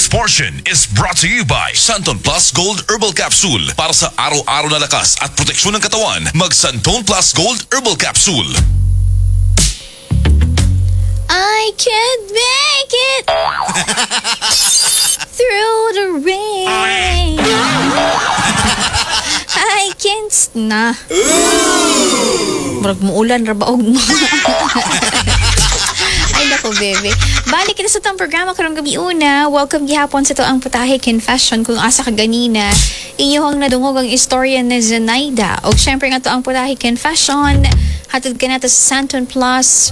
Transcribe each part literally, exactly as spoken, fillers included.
This portion is brought to you by Xanthone Plus Gold Herbal Capsule. Para sa araw-araw na lakas at proteksyon ng katawan, mag Xanthone Plus Gold Herbal Capsule. I can't make it through the rain. I can't s- na. Murag muulan ra ba og mo. Ay nako, bebe. Balik kita sa atong programa karong gabi una. Welcome gihapon sa atoang Putahe Confession kung asa ka ganina. Inyong nadungog ang istorya ni Zenaida. Og syempre nga atoang Putahe Confession. Hatod ka nato sa Xanthone Plus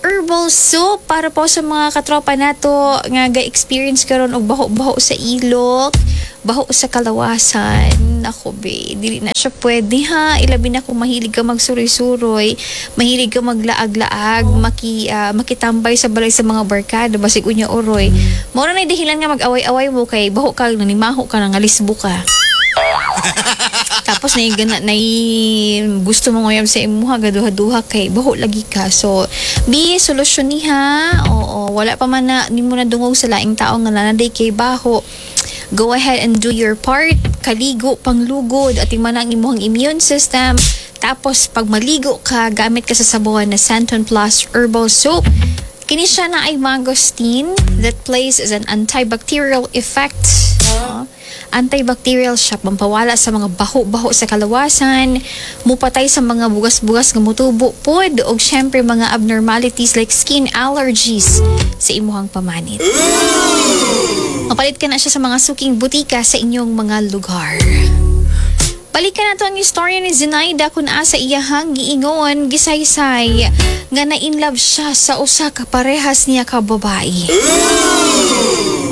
Herbal Soap para po sa mga katropa nato nga ga-experience karon og baho-baho sa ilok, baho sa kalawasan. Nako be, dili na siya pwede ha. Ilabi na kung mahilig ka magsuroy-suroy, mahilig ka maglaag-laag, maki, ah, makitambay sa balay sa mga barkada, basig unya uroy. Mao na dahilan nga mag-away-away mo kay baho ka, nanimaho ka, nangalisbo ka. Tapos na gana na gusto mo nguyab sa imuha gaduha-duha kay baho lagi ka. So be solusyon niha. Oo, wala pa man na nimo na dungog sa laing tao nga nanaday kay baho. Go ahead and do your part. Kaligo panglugod at man ang imuhang immune system. Tapos pag maligo ka, gamit ka sa sabon na Xanthone Plus Herbal Soap. Kini siya na ay mangosteen that plays as an antibacterial effect. No? Antibacterial siya, pampawala sa mga baho-baho sa kalawasan, mupatay sa mga bugas-bugas nga mutubo pod, og syempre mga abnormalities like skin allergies sa imuhang pamanit. Mapalit ka na siya sa mga suking butika sa inyong mga lugar. Balikan nato ang istorya ni Zenaida kung asa iyahang giingon gisaysay nga na in love siya sa usa ka parehas niya ka babae.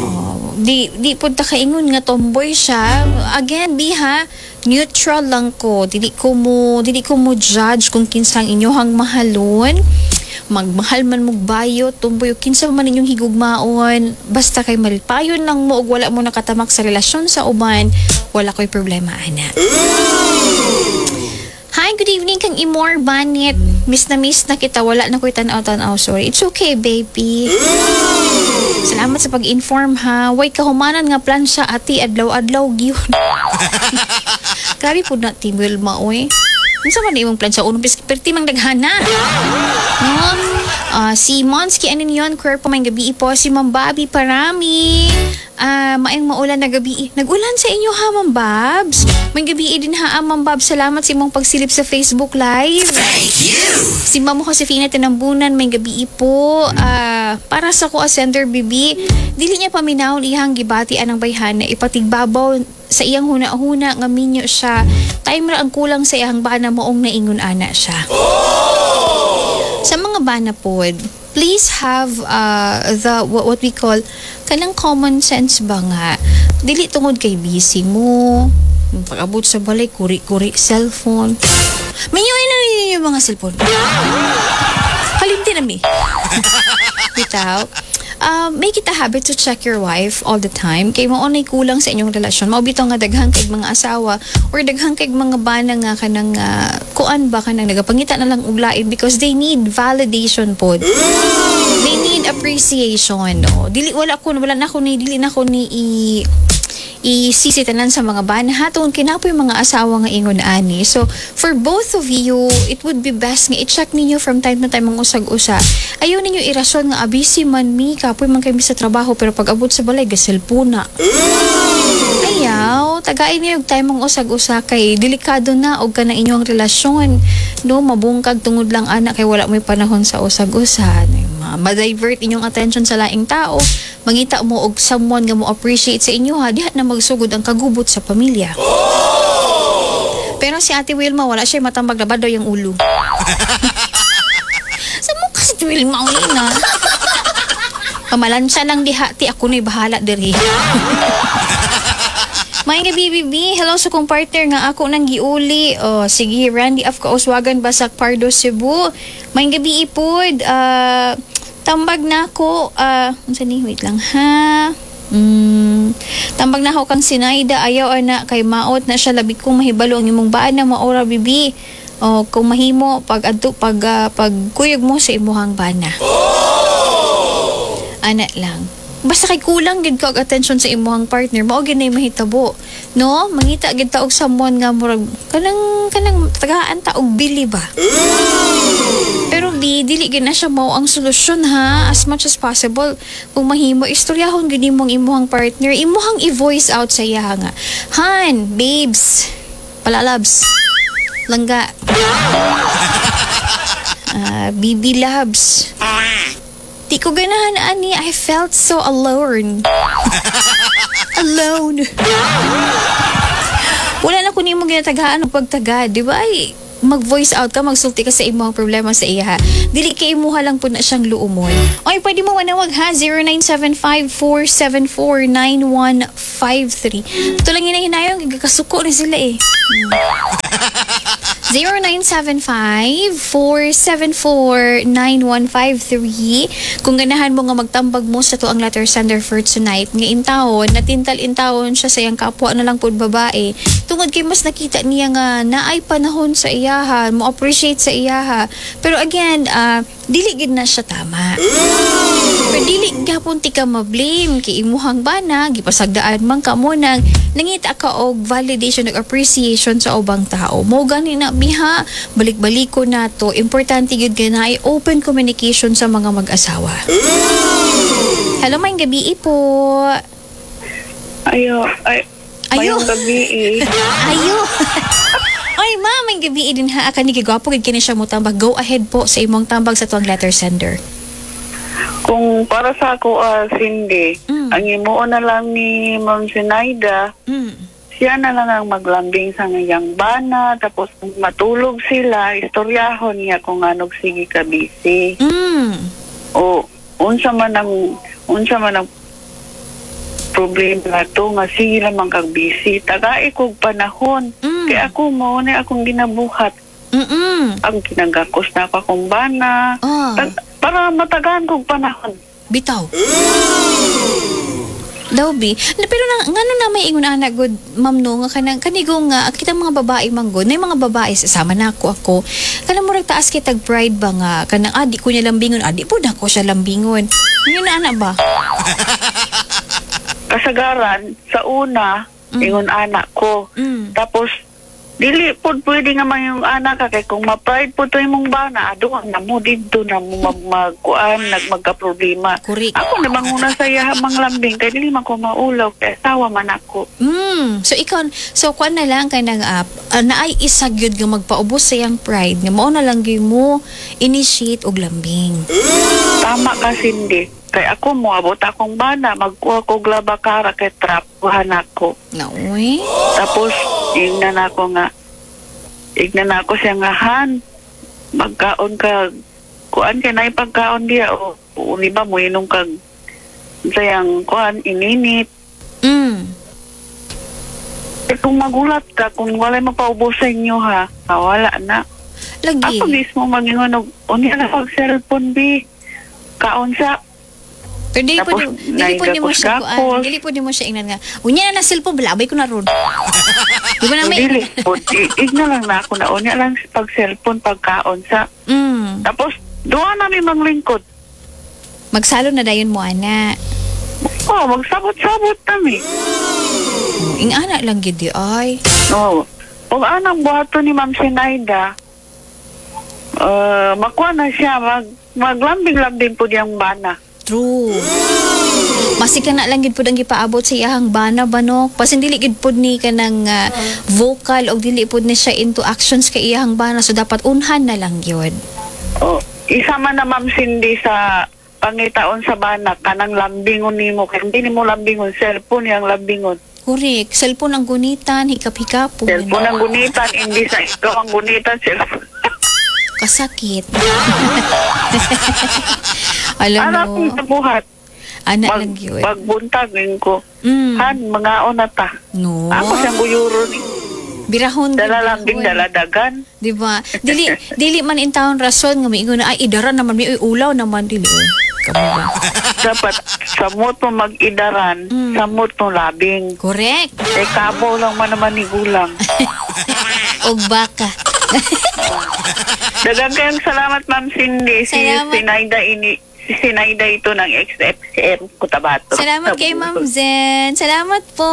Oh, di di pud ta kaingon nga tomboy siya. Again, biha, neutral lang ko. Dili ko mo dili ko mo judge kung kinsang inyohang mahalon. Magmahal man mong bayo, tomboy, o kinsa man inyong higugmaon, basta kay malipayon lang mo ug wala mo nakatamak sa relasyon sa uban, wala ko'y problema ana. Hi, good evening kang Imor Banit. Miss na miss na kita, wala na ko'y tanaw-tanaw. Sorry. It's okay, baby. Salamat sa pag-inform ha. Way kahumanan nga plan siya ati adlaw-adlaw gyud. Grabe pud na Team Wilma oy. Unsa man imong plan sa unong bis perti mang daghana. No? Ah, si Monsky Aninyon, Kwerpo may gabi po. Si Ma'am Bobby Parami. Ah, maayong maulan na gabi. Nag-ulan sa inyo ha, Ma'am Babs. May gabi din ha, ah, Ma'am Babs. Salamat sa imong pagsilip sa Facebook Live. Thank you. Si Ma'am Josefina Tinambunan, may gabi po. Ah, para sa ko sender bibi, dili niya paminawon iyang gibati anang bayhana ipatigbabaw sa iyang huna-huna nga minyo siya. Time ra ang kulang sa iyang bana maong naingon ana siya. Sa mga bana pod, please have uh, the what, what we call kanang common sense ba nga dili tungod kay busy mo pag-abot sa balay kuri-kuri cellphone Minyo na ninyo yung mga cellphone kalimti na mi bitaw um, make it a habit to check your wife all the time kay mao nay kulang sa inyong relasyon mao bitaw nga daghan kay mga asawa or daghan kay mga bana nga kanang uh, kuan ba kanang nagapangita na lang og lain because they need validation pod they need appreciation no dili wala ko wala na ko ni dili na ko ni i isisi tanan sa mga bana hatong kinapoy mga asawa nga ingon ani so for both of you it would be best nga i-check ninyo from time to time ang usag-usa ayaw ninyo irason nga busy man mi kapoy man kami sa trabaho pero pag abot sa balay gaselpuna ayaw tagain niyo og time ang usag-usa kay delikado na og kana inyong relasyon no mabungkag tungod lang ana kay wala mo'y panahon sa usag-usa Ma- ma-divert inyong attention sa laing tao mangita mo og someone nga mo appreciate sa inyo ha diha na magsugod ang kagubot sa pamilya pero si Ate Wilma wala siya matambag labad daw yung ulo sa mo kasi Ate Wilma uli na pamalansya lang diha ti ako na'y bahala diri May gabi, bibi. Hello sa kong partner nga ako nang giuli. Oh, sige, Randy of Kauswagan, Basak, Pardo, Cebu. May gabi ipod. Uh, tambag na ako. Uh, unsa ni? Wait lang ha. Mm, tambag na ako kang Sinaida. Ayaw ana kay maot na siya labi kong mahibalo ang imong baan na maora bibi. Oh, kung mahimo pag adto pag uh, pag kuyog mo sa imuhang bana. Ana lang. Basta kay kulang gid ka og attention sa imong partner, mao gid nay mahitabo. No? Mangita gid ta og someone nga murag kanang kanang tagaan ta og bili ba. Pero bi, dili gid na siya mao ang solusyon ha. As much as possible, kung mahimo, istoryahon gid nimo ang imuhang partner, imuhang i-voice out sa iya nga. Han, babes, palalabs, langga, ah, B B loves. Di ko ganahan ani. I felt so alone. Alone. Wala na ko nimo ginatagaan og pagtagad, di ba? Ay, mag-voice out ka, magsulti ka sa imong problema sa iya. Dili kay imuha lang po na siyang luumon. Oy, pwede mo manawag ha, zero nine seven five, four seven four, nine one five three. Ito lang hinahinayon, gigakasuko ni sila eh. zero nine seven five, four seven four, nine one five three. Kung ganahan mo nga magtambag mo sa atoang letter sender for tonight, nga intawon, natintal intawon siya sa iyang kapwa na lang po babae. Tungod kay mas nakita niya nga naay panahon sa iyaha, mo appreciate sa iyaha. Pero again, ah, dili gid na siya tama. Pero dili gapon ti ka ma-blame kay imuhang bana, gipasagdaan man ka mo nang nangita ka og validation ug appreciation sa ubang tao. Mo gani na biha, balik-balik ko na to. Importante gyud kay naay open communication sa mga mag-asawa. Hello, maayong gabi po. Ayo, ay, Ayo. mayong gabi eh. Ayo. Oy, ma, maayong gabi din ha. Kani gigwapo gid kini siya mo tambag. Go ahead po sa imong tambag sa tuang letter sender. Kung para sa ako, ah, Cindy, Mm. ang imuon na lang ni Ma'am Sinaida, Mm. siya na lang ang maglambing sa ngayang bana, tapos kung matulog sila, istoryahon niya kung anong sige ka busy. Mm. O unsa man ang unsa man ang problema to nga sige lamang kag busy. Tagai kog panahon. Mm. Kaya ako mao na akong ginabuhat. Mm. Ang kinagakos na ako akong bana. Ah. Tag- para matagaan kog panahon. Bitaw. Daw bi. Na, pero na, ngano na may ingon ana good, ma'am, no, nga kanang kanigo nga kita mga babae manggod na mga babae sama na ako ako kanang murag taas kay tag pride ba nga kanang ah, di ko niya lambingon, ah, di po na ko siya lambingon, yun na ana ba? Kasagaran, sa una, Mm. ingon anak ko. mm. Tapos, dili po pwede nga man yung anak ka kay kung ma-pride po to imong bana, ado na mo didto na mo mag magkuan, nag magka-problema. Correct. Ako na manguna sa iya mang lambing kay dili man ko maulaw kay asawa man ako. Mm. So ikaw, so kuan na lang kay nang uh, uh, naay isa gyud nga magpaubos sa iyang pride nga mao na lang gyud mo initiate og lambing. Tama ka, Cindy. Kay ako moabot akong bana, magkuha ko glabakara kay trapuhan ako. Naoy. Tapos, ingnan ako nga, ingnan ako siya nga, "Han, magkaon ka, kuan kay na pagkaon diya, o, o di ba, muinom kag, sayang, kuan, ininit." Mm. Eh, kung magulat ka, kung walay mapaubos sa inyo, ha, ah, wala na. Lagi. Ako mismo magingon, og, unya na pag cellphone, bi, kaon sa, Pero dili po Tapos, dili po nimo siya kuan, naigakos-gakos. dili po nimo siya ingnan nga. Unya na na cellphone, balabay ko na ron. Di ba na may Dili po, i- igna lang na ako na, unya lang pag cellphone, pagkaon sa, Mm. tapos, duha namin manglingkod. Magsalo na dayon mo ana. Oh, magsabot-sabot kami. Oh, ing ana lang gid di ay. Oo. Kung anang buhaton ni Ma'am Sinaida, uh, makuha na siya, mag, maglambing-lambing po diyang bana. True. Masika na lang gid pud ang gipaabot sa iyahang bana ba no. Pasin dili gid pud ni kanang ah, vocal og dili pud ni siya into actions kay iyahang bana, so dapat unhan na lang gyud. Oh, isa man na, Ma'am Cindy, sa pangitaon sa bana, kanang lambingon nimo kay hindi nimo lambingon, cellphone yang lambingon. Correct. Cellphone ang gunitan, hikap-hikap. Cellphone ang gunitan, hindi sa ikaw ang gunitan, cellphone. Kasakit. Alam Anak mo, kong nabuhat, ana mag, lang yun. magbuntag ko. Mm. Han, mga na ta. No. Ako siyang guyuro ni. Birahon. Dala birahon. lambing, dala dagan. Di ba? Dili, dili man in town rason nga miingon na ay idara naman mi, uy, ulaw naman dili. Oy. Kamo ba? Dapat samot mo mag-idaran, Mm. samot mo labing. Correct. Eh, kabaw lang man naman ni gulang. Og baka. Dagang kayong salamat, Ma'am Cindy. Si Salamat. Sinaida ini, Si Sinaida ito ng X F C M Cotabato. Salamat kay Ma'am Zen. Salamat po.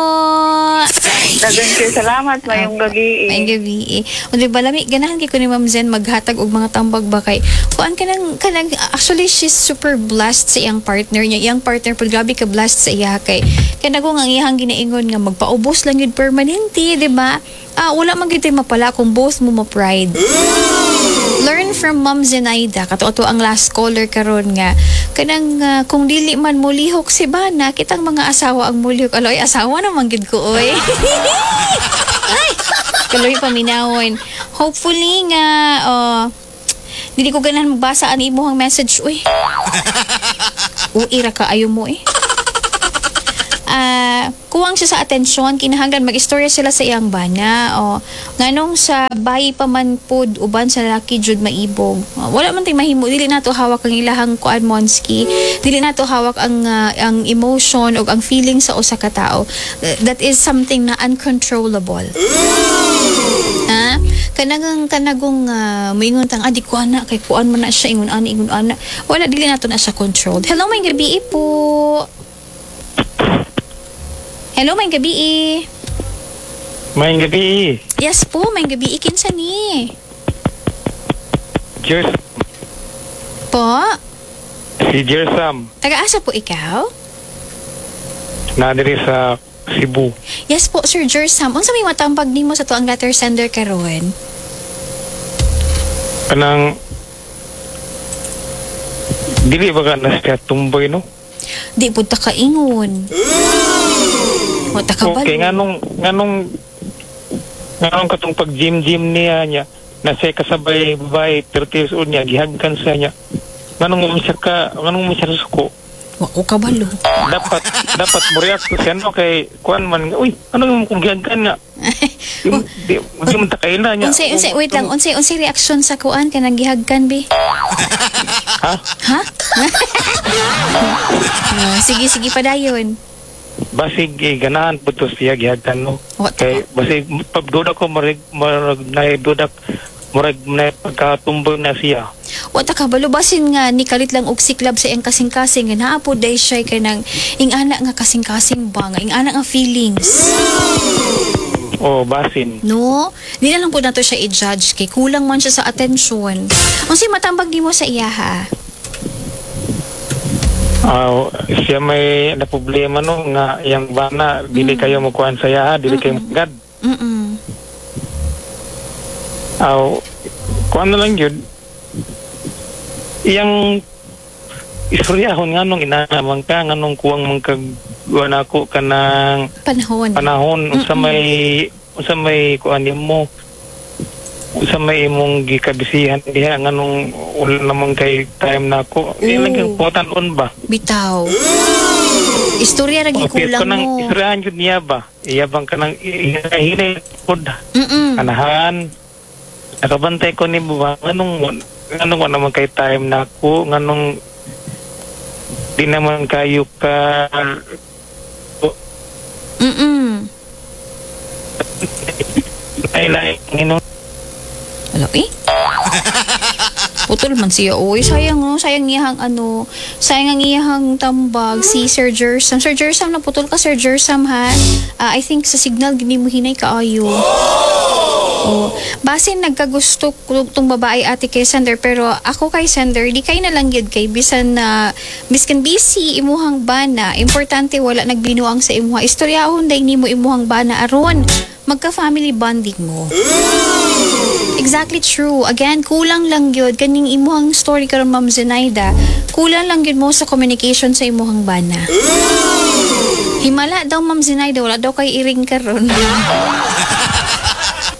Daghang kayo salamat, mayong gabi. Maayong gabi. O di ba lami ganahan kay ko ni Ma'am Zen maghatag og mga tambag ba kay kuan kanang kanang actually she's super blessed sa iyang partner niya. Iyang partner pud grabe ka blessed sa iya kay kanang ang iyang ginaingon nga magpaubos lang yun permanente, di ba? Ah, wala man gyud tay mapala kung both mo ma-pride. Learn from Ma'am Zenaida, kato ato ang last caller karon nga kanang ah, kung dili man mulihok si bana, kitang mga asawa ang mulihok. Aloy, asawa naman gid ko oy. Ay, kaloy paminawon. Hopefully nga oh, dili ko ganahan magbasa ang imuhang message uy. Uy ra ka ayo mo eh. Ah, kuwang siya sa atensyon, kinahanglan mag-istorya sila sa iyang bana o nganong sa bayi pa man pod uban sa lalaki jud maibog. Ah, wala man tay mahimo, dili nato hawak ang ilahang kuan, monski, dili nato hawak ang ah, ang emotion o ang feeling sa usa ka tawo. Uh, that is something na uncontrollable, ha. Kanang kanagong uh, moingon tang, ah, di ko ana kay kuan man na siya, ingon ani, ingon ana, wala, dili nato na siya controlled. Hello, may gabi po. Hello, may gabi. Maayong gabi. Yes po, may gabi. Kinsa ni? Jers, Po? Si Jersam. Taga-asa po ikaw? Na diri sa Cebu. Yes po, Sir Jersam. Unsa may matambag nimo sa tuang letter sender karon? Kanang dili ba ka na siya tumboy, no? Di pud ta kaingon. Wa ta kabalo. Okay, nganong nganong nganong katong pag gym gym niya niya na siya kasabay babae thirty years old niya gihagkan siya niya. Nganong mo siya ka nganong mo siya suko? Wa ko kabalo. Dapat dapat mo react siya, no, kay kuan man, uy, ano yung kung gihagkan nga? Di, di, di man ta kaila niya. Unsay unsay wait lang, unsay unsay reaction sa kuan kanang gihagkan bi? Ha? Ha? Ah, sige, sige, padayon. Basig eh, ganahan po to siya gihagkan, no? Wa ta Kay basig pagduda ko marag marag na duda murag na pagkatumboy na siya. Wa ta kabalo, basin nga ni kalit lang og siklab sa iyang kasing-kasing nga naa po day siya kanang ing-ana nga kasing-kasing ba nga ing-ana nga feelings. O basin. No? Di na lang po nato siya i-judge kay kulang man siya sa atensyon. Unsay matambag nimo sa iya, ha? Ah, siya may na problema, no, nga yang bana dili kayo mo kuan sa iya, dili kayo magad. Mm. Aw, kuan na lang yun. Iyang istoryahon nganong inana man ka, nganong kuwang man kag kuan ako kanang Panahon. Panahon, unsa may unsa may kuan nimo, unsa may imong gikabisihan diha, nganong wala naman kay time nako. Di lang Oo. kang putan-on ba? Bitaw. Istorya ra Okay, gikulang kanang mo. istoryahan jud niya ba? Iya bang kanang hinay pod Mm. anahan. Nakabantay ko ni ba, nganong nganong wala naman kay time nako, nganong di naman kayo ka Mm. ay lain ino. Wala eh. Putol man siya. Uy, sayang no. Sayang iyahang ano. Sayang ang iyahang tambag si Sir Jersam. Sir Jersam, naputol ka, Sir Jersam, ha. Ah, I think sa signal gini mo hinay kaayo. Oh, basin nagkagusto ko tong babae, ate, kay sender, pero ako kay sender di kay na lang gyud kay bisan na biskan busy imuhang bana, importante wala nagbinuang sa imuha. Istoryahon day nimo imuhang bana aron magka family bonding mo. Exactly true. Again, kulang lang gyud kaning imuhang story karon, Ma'am Zenaida. Kulang lang gyud mo sa communication sa imuhang bana. Himala daw, Ma'am Zenaida, wala daw kay iring karon.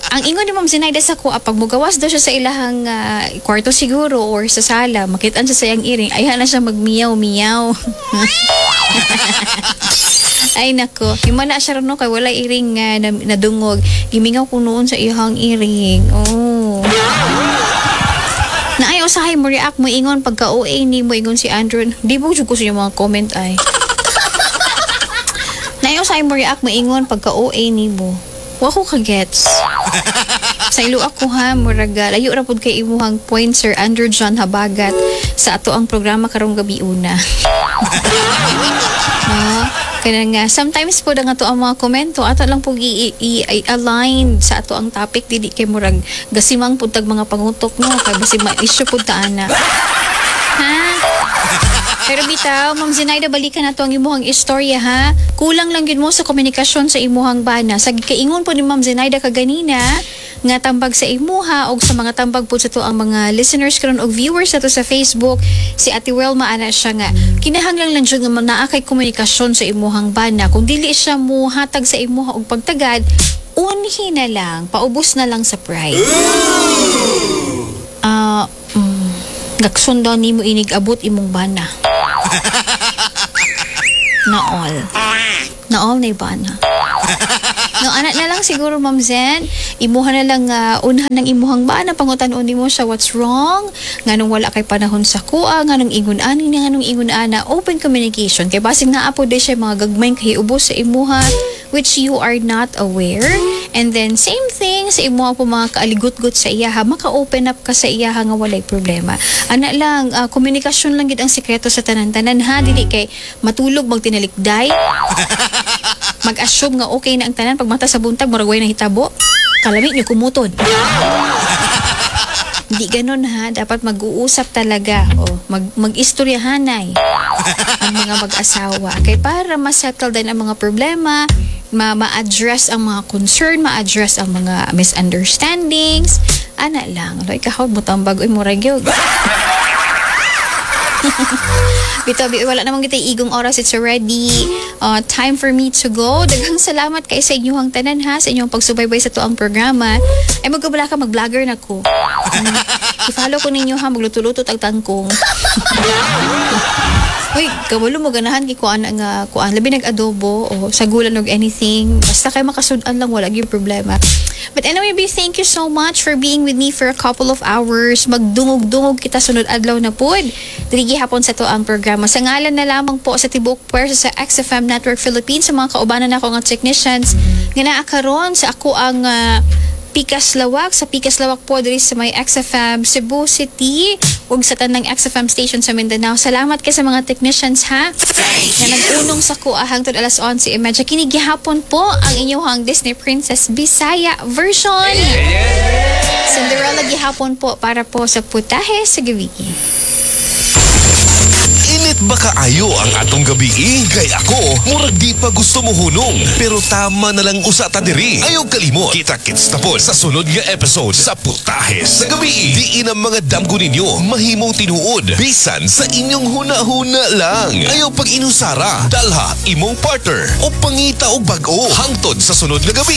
Ang ingon ni Ma'am Zenaida sa kuha, pag mugawas daw siya sa ilahang ah, kwarto siguro or sa sala, makitaan siya sa iyang iring, ayha na siya magmiyaw-miyaw. Ay nako, himala siya ron, no, kay wala iring nga na, nadungog. Gimingaw ko noon sa iyang iring. Oh. Na ay usahay mo react mo ingon pagka O A ni mo ingon si Andrew. Di mo jud ko sa inyong mga comment ay. Na ay usahay mo react mo ingon pagka O A ni mo. Wa ko ka-gets. Sa ilo ako ha, murag ah, layo ra pud kay imuhang point, Sir Andrew John Habagat. Sa ato ang programa karong gabi una. No? Kaya nga, sometimes po nga to ang mga komento, ato lang po i- i- i-align sa ato ang topic, dili kay murag gasimang pud tag mga pangutok, no? Kay basi ma-issue pud ta ana. Ha? Pero bitaw, Ma'am Zenaida, balikan nato ang imuhang istorya ha. Kulang lang yun mo sa komunikasyon sa imuhang bana. Sa kaingon po ni Ma'am Zenaida kaganina, nga tambag sa imuha og sa mga tambag po sa to ang mga listeners karon og viewers nato sa Facebook, si Ate Welma, ana siya nga kinahanglan lang jud nga naa kay komunikasyon sa imuhang bana. Kung dili siya muhatag sa imuha og pagtagad, unhi na lang, paubos na lang sa pride. Ah, mm, gakson daw nimo inig abot imong bana. Na all. Na all na bana. No, ana na lang siguro, Ma'am Zen. Imuha na lang uh, unhan ng imuhang bana, pangutan-on nimo siya what's wrong, nganong wala kay panahon sa kuha, nganong ingon ani, nganong ingon ana, open communication. Kay basig naa po di siya mga gagmay kay ubos sa imuha which you are not aware. And then same thing sa imuha po mga kaaligot-got sa iyaha, maka-open up ka sa iyaha nga walay problema. Ana lang, ah, komunikasyon lang gid ang sekreto sa tanan-tanan ha, dili kay matulog magtinalikday, mag-assume nga okay na ang tanan, pag mata sa buntag murag way nahitabo, kalami niyo kumuton. Hindi ganun ha, dapat mag-uusap talaga o mag mag-istoryahanay ang mga mag-asawa kay para ma-settle din ang mga problema, ma ma-address ang mga concern, ma-address ang mga misunderstandings. Ana lang. Loy kahaw mo tambag, oy, murag yun. Bitaw, bi- wala namang kita igong oras. It's already uh, time for me to go. Daghang salamat kay sa inyong tanan ha, sa inyong pagsubaybay sa tuang programa. Ay, magkabala ka, mag-vlogger na ko. Mm. I-follow ko ninyo ha, magluto-luto tag tangkong. Uy, kabalo mo ganahan kay kuan nga kuan labi nag-adobo o sagulan og anything. Basta kay makasud-an lang, wala gyud problema. But anyway, B, thank you so much for being with me for a couple of hours. Magdungog-dungog kita sunod adlaw na pod. Diri gihapon sa to ang programa. Sa ngalan na lamang po sa tibuok puwersa sa X F M Network Philippines, sa mga kaubanan nako nga technicians nga naa karon sa ako ang ah, Pikas Lawak, sa Pikas Lawak po diri sa may X F M Cebu City ug sa tanang X F M station sa Mindanao. Salamat kay sa mga technicians ha na nag-unong sa kuha hangtod alas onse trenta. Kini gihapon po ang inyong Disney Princess Bisaya version. Cinderella gihapon po para po sa Putahe sa Gabi. Init ba kaayo ang atong gabi? Kay ako, murag di pa gusto mo hunong. Pero tama na lang usa ta diri. Ayaw kalimot. Kita-kits na po sa sunod nga episode sa Putahe sa Gabi. Diin ang mga damgo ninyo mahimong tinuod. Bisan sa inyong huna-huna lang. Ayaw pag inusara. Dalha imong partner o pangita og bag-o. Hangtod sa sunod nga gabi.